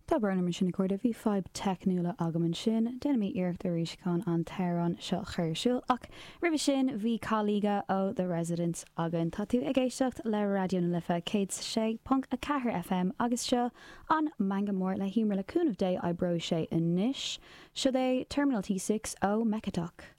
Tá brón orm ansin a chairde, bhí fadhb teicniúla agam ansin. Déanfaidh mé iarracht arís chun an t-amhrán seo a chur ar siúl, ach roimhe sin bhí Caliga ó The Residents againn. Tá tú ag éisteacht le Raidió na Life 106.4 FM agus seo an Meangadh Mór le hEmer le cúnamh Dé oibreoidh sé anois. Seo é Terminal T6 ó Mechatok.